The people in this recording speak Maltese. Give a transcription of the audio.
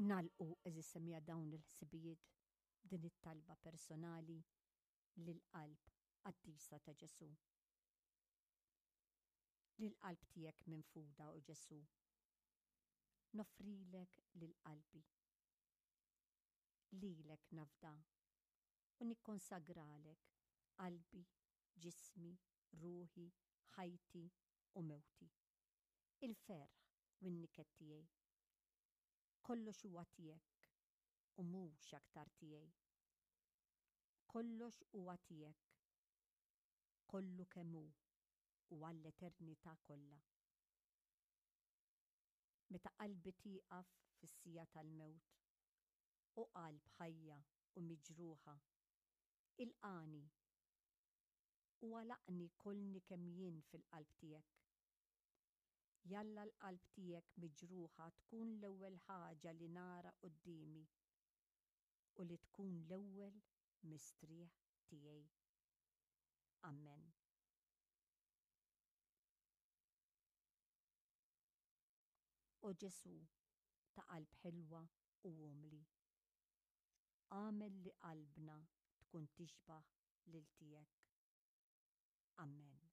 Nagħlqu għeżież semmiegħa dawn il-ħsibijiet b'din it-talba personali lill-Qalb Qaddisa ta' Ġesù. Lill-qalb tiegħek minfuda, o Ġesù, noffrilek lil qalbi. Lilek nafda u nikkonsagralek qalbi, ġismi, ruħi, ħajti u mewti. Il-ferħ u n-niket tiegħi. Kollox huwa tiegħek u mhux aktar tiegħi. Kollox huwa tiegħek, kollu kemm hu u għall-eternità kollha. Meta qalbi tieqaf fis-siegħa tal-mewt, o qalb ħajja u miġruħa, ilqagħni u għalaqni kollni kemm jien fil-qalb tiegħek. Jalla l-qalb tiegħek miġruħa tkun l-ewwel ħaġa li nara quddiemi u li tkun l-ewwel mistrieħ tiegħi. Ammen. O Ġesù ta' qalb ħelwa u umli, agħmel li qalbna tkun tixbah lil tiegħek. Ammen.